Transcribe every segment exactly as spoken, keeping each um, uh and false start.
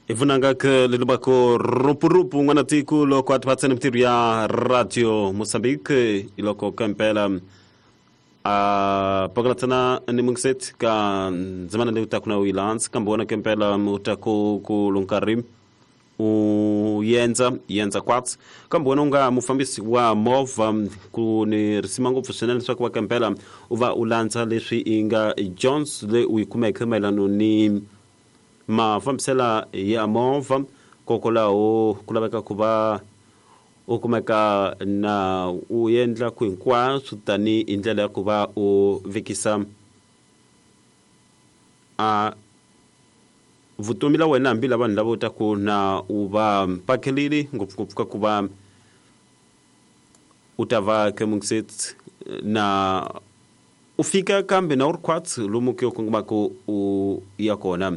Ivunanga ke lelubako rupurupu n'wana tiko loko a tivatsene mintirho ya Radio Mozambique iloko kampela a pakalatsana ni mungiset ka ndzimana leyi utaku na uyilandza kambe wona kempela utaku ku lunkarhi u yendza yendza kwatsi kambe wena u nga mufambisi wa movha ku ni risima ngopfu swinene leswaku va kempela u va u landza leswi i nga Jones leyi u yi kumeke mayelano ni mafambisela ya movha kokwalaho ku laveka ku va u kumeka na u endla ku hinkwaswo tani hi ndlela ya ku va u vekisa a vutomi la wena hambi la vanhu lava u taku na u va pakelile ngopfungopfu ka ku va u ta va kemungiset na u fika kambe na u ri khwatsi lomu ke u kongomaka u ya kona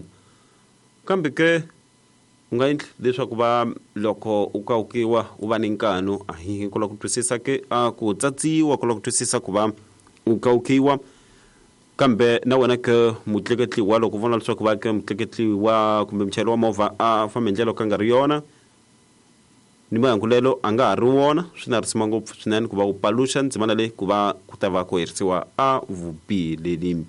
kambe ke u nga endli leswaku va loko u kawukiwa u va ni nkanu a hi ku lava ku twisisa ke a ku tsatsiwa ku lava ku twisisa ku va u kawukiwa kambe na wena ke mutleketliwa loko u vona leswaku va ke mutleketliwa kumbe muchayeri wa movha a famba hi ndlela yo ka nga ri yona ni mahangulelo a nga ha ri wona swi na risima ngopfu swinene ku va u paluxa ndzimana leyi ku va ku ta va ku herisiwa a vubihi leli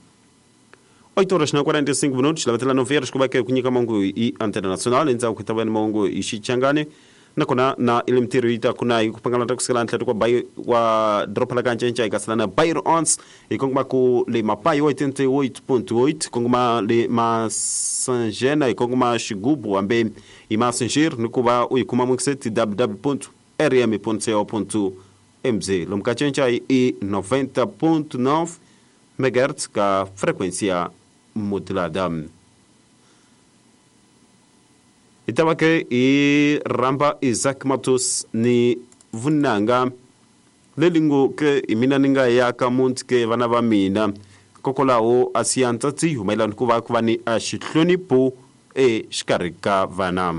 oito horas na quarenta e cinco minutos lavatela nove horas ku va ke ku nyika mahungu hi antena nacional endzhaku ku ta va ni mahungu hi xichangani nakona na ile mintirho yi ta ku na hi ku pangalata kusukela ntlhelo kwa bai wa doroba la kancenca hi kasela na Bairro Onze hi kongoma ku le Mapai oitenta e oito ponto oito kongoma le Masanjena hi kongoma Xigubu hambe hi Masanjir ni ku va u yi kuma mungiseti w w w ponto r m ponto co ponto m z lomu ka cinca i noventa ponto nove megahertz ka frequência modulada. Hi ta va ke hi rhamba Isaac Matos ni vunanga leli ngo ke hi mina ni nga ya ka muti ke vana va mina kokwalaho a siya ntsatsi mayelana ku va ku va ni a xihlonipho exikarhi ka vana.